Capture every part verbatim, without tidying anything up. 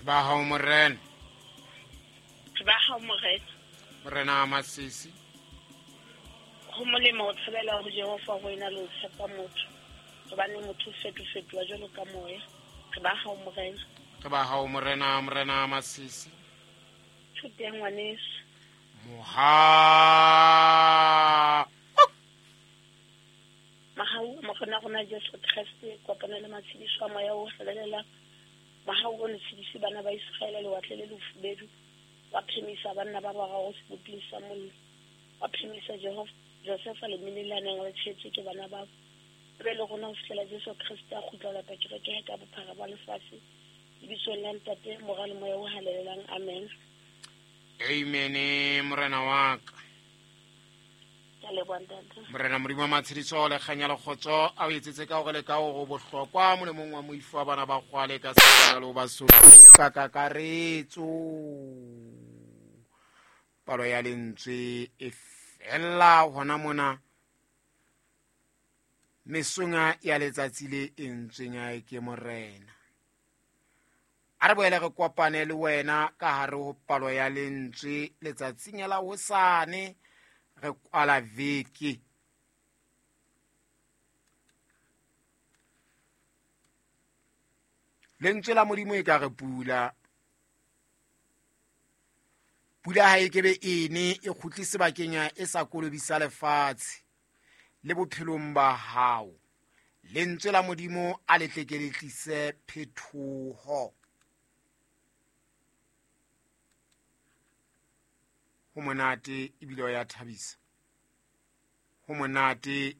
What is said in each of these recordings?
Ba hao morena. Ba hao morena. Morena Masisi. Ho molemo ho tshabela ho Jehova ho ena le ho tshepa motho. Hobane motho o fetofetoha jwalo ka moya. Re ba hao morena. Re ba hao morena, morena Masisi. Thuteng ngwaneso. Moha. Mahau morena rona Jesu Kreste kopana le matshediso a moya o halalelang. Mahau o ntshedise bana ba Israele lewatle le lefubedu. Wa phemisa banna ba bararo seboping sa mollo. Wa phemisa Jehova Josefa le menelane le tshetse ke bana ba. Be le rona ho fihlela Jesu Kreste a kgutla lata kereke ka bophara ba lefatshe. Lebitsong la Ntate, Mora le Moya o Halalelang. Amen. Amen, morena wa ka. Morena Modimo wa matshediso le kganya le kgotso a o etsetse ka hore le ka hore bohlokwa molemong wa moifo wa bana ba kgwale ka sebaka le Basotho ka kakaretso. Palo ya lentswe e fella hona mona mesong ya letsatsi le entsweng ke morena. A re boele re kopane le wena ka hare ho palo ya lentswe letsatsing la hosane re kwala veke. Lentswe la Modimo e ka re pula. Pula ha e kebe ene e kgutle sebakeng e sa kolobisa lefatshe le bophelong ba hao. Lentswe la Modimo a le tle ke le tlise phethoho. Ho monate ebile ya thabisa. Ho monate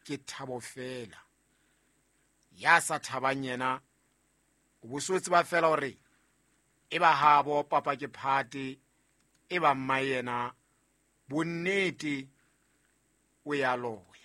ke thabo fela. Ya sa thabang yena o bo so tseba fela hore e ba habo papa ke phate e ba mma yena bonnete o ya loya.